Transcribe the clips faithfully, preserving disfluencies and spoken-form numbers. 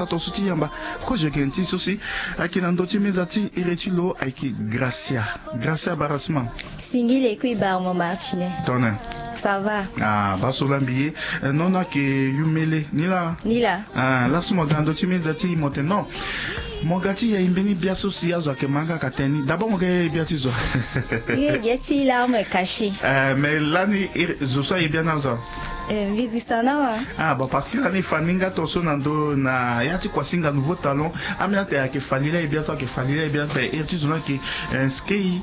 Ato so ti yamba kozo yeke nti so si ayeke na ndö ti meza ti iri ti lo ayeke Gracia. Gracia barasima. Singile kui barmo Martine. Tone. Ça va? Ah, baso lambi ye. Eh, non, non, ayeke yumele ni laa. Ni laa. Ah, laso mo ga na ndö ti meza ti mo tene non. Mo ga ti ya e mbeni bia so si azo ayeke ma nga ka tene ni. D'abord mo ga ye bia ti zo. Ye bia ti larme caché. Eh, mais lani zo so aye bia na zo. Eh, mbi bisa na wa. Ah, bon, parce que lani e fa ni nga tonso na ndö na ya ti kuasinga Nouveau Talon. Ambeni atene ayeke fali la e bia so ayeke fali la e bia so ape iri ti zo ni ayeke, eh, Skei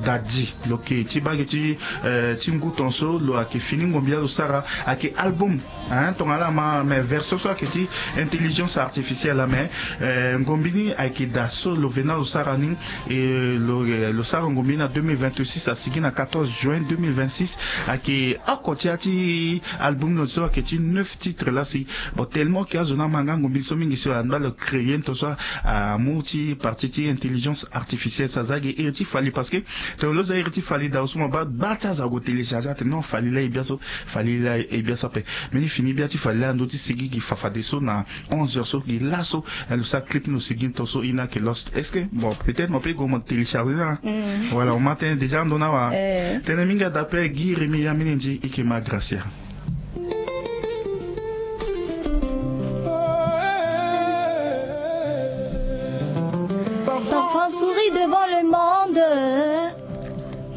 Dadi. Lo yeke ti bage ti, eh, ti ngu tonso lo ayeke fini ngombi la lo sara ayeke album. Hein, tongana la ma mais version so ayeke ti intelligence artificielle la mais, eh, ngombi ni ayeke daa so lo vena lo sara ni. E lo, eh, lo sara ngombi ni na deux mille vingt-six asigi na quatorze juin deux mille vingt-six. Ayeke oko ti ya ti album lo so ayeke ti neuf titres la si. Bon, tellement ke azo ni ama nga ngombi so mingi si lo anda lo créer tonso amu ti partie ti intelligence artificielle so aza ge iri ti fali parce que tongana lo za iri ti fali daa so mo baa baa ti azo ague télécharger atene non fali la e bia so. Fali la e bia so ape. Mbeni fini bia ti fali la na ndö ti sigi gi fafadeso na onze heures so gi laso. Eh, lo sara clip ni lo sigi ni tonso e na ayeke lost est-ce que bon peut-être mo pe gue mo télécharger na. Voilà mo ma tënë déjà ando na wa. Tënë mingi ada ape gi remi ya mbeni nzi e yeke ma Gracia.